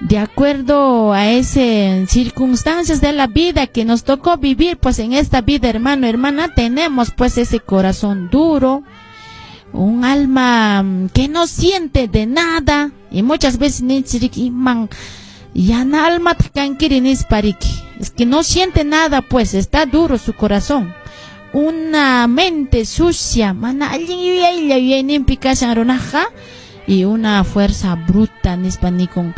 De acuerdo a esas circunstancias de la vida que nos tocó vivir, pues en esta vida, hermano, hermana, tenemos pues ese corazón duro, un alma que no siente de nada, y muchas veces man yana alma es que no siente nada, pues está duro su corazón. Una mente sucia, mana y una fuerza bruta, nispa nikun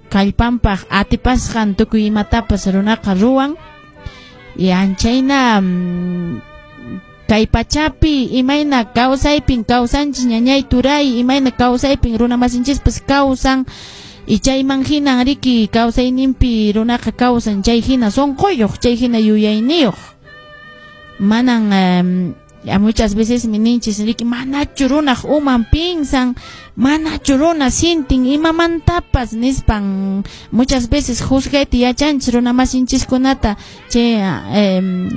kallpanpaq atipasqan tukuy imatapas runaqa ruwan. Y anchayna kay pachapi imayna kawsaypin kawsanchis ñañay turay, imayna kawsaypin runa masinchispas kawsan, y chayman hinan riki kawsayninpi runaqa kawsan, chay hina sunquyuq, chay hina yuyayniyuq. Manan muchas veces mi ninchis riki manachu runaq uman pinsan, manachu runa sintin imamantapas nispan, muchas veces juzgayta yachanchis runa masinchiskunata, chay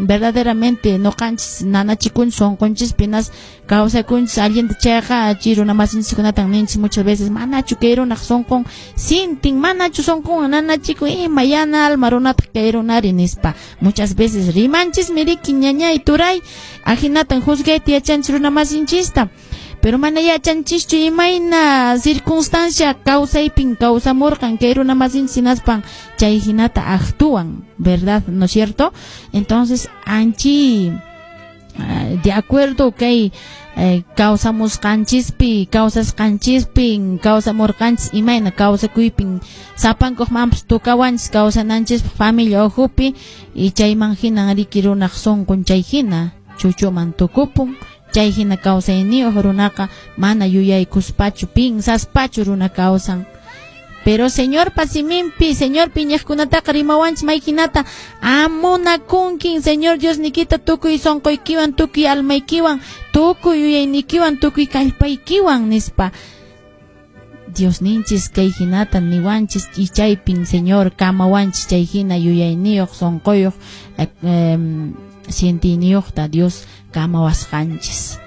verdaderamente noqanchis nanachikunchis sunqunchis pinas kawsakunchis allinta chayqa chay runa masinchiskunatan ninchis muchas veces manachu kay runaq sunqun sintin, manachu sunqun nanachikun, ima yana alma runataq kay runari nispa. Muchas veces rimanchismi riki ñañay turay, ajinatan juzgayta yachanchis runa masinchista. Pero mana yachanchischu imayna circunstancia kawsaypin kawsamurqan kay runa masinchis hinaspan chay hinata actúan, ¿verdad? ¿No es cierto? Entonces, anchi de acuerdo kay kawsamusqanchispi, kawsasqanchispin, kawsamurqanchis imayna kawsakuypin sapankuqmanpas tukawanchis kawsananchispaq familia ukhupi, y chayman hinan riki runaq sunqun chay hina chuchuman tukupun. Chay hina kawsayniyuq runaqa mana yuyaykuspachu pinsaspachu runa kawsan. Pero Señor pasiminpi, Señor piñaqkunataqa rimawanchis mayhinata amunakunkin Señor Dios nikita tukuy sunquykiwan, tukuy almaykiwan, tukuy yuyaynikiwan, tukuy kallpaykiwan nispa. Dios ninchis kay hinata niwanchis y chaypin Señor kamawanchis chay hina yuyayniyuq sunquyuq sientiniyuqta Dios kamawasqanchis.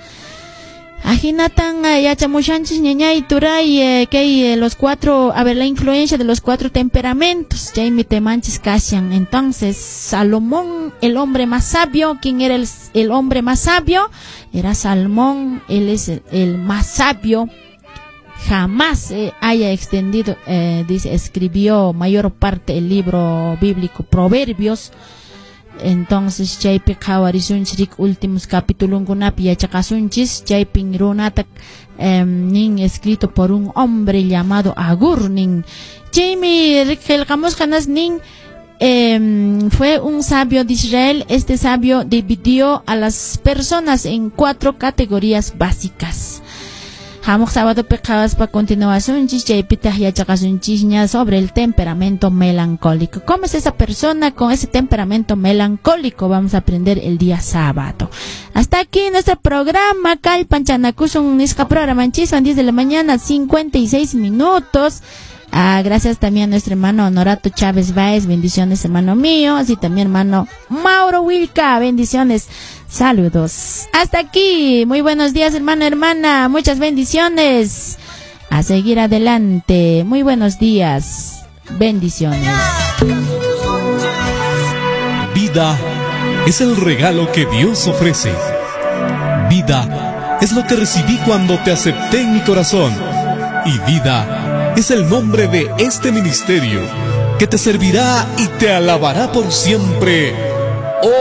Ajinatan yachamushanchis ñañay turay kay los cuatro, a ver, la influencia de los cuatro temperamentos, chaymi temanchis kashan. Entonces, Salomón, el hombre más sabio, ¿quién era el hombre más sabio? Era Salomón, él es el más sabio. Jamás haya extendido, dice, escribió mayor parte el libro bíblico Proverbios. Entonces chaypi qhawarisunchis últimos capitulunkunapi yachaqasunchis, chaypin runata nin escrito por un hombre llamado Agur nin. Chaymi qillqamusqanas nin fue un sabio de Israel. Este sabio dividió a las personas en cuatro categorías básicas. Hamuq sábado qhawaspa continuasunchis chaypitaq yachaqasunchisña sobre el temperamento melancólico. ¿Cómo es esa persona con ese temperamento melancólico? Vamos a aprender el día sábado. Hasta aquí nuestro programa Kallpanchanakusun nisqa programanchiswan, 10 de la mañana, 56 minutos. Ah, gracias también a nuestro hermano Honorato Chávez Báez, bendiciones hermano mío, así también hermano Mauro Wilca, bendiciones, saludos. Hasta aquí, muy buenos días hermano, hermana, muchas bendiciones, a seguir adelante, muy buenos días, bendiciones. Vida es el regalo que Dios ofrece. Vida es lo que recibí cuando te acepté en mi corazón. Y vida es el nombre de este ministerio que te servirá y te alabará por siempre.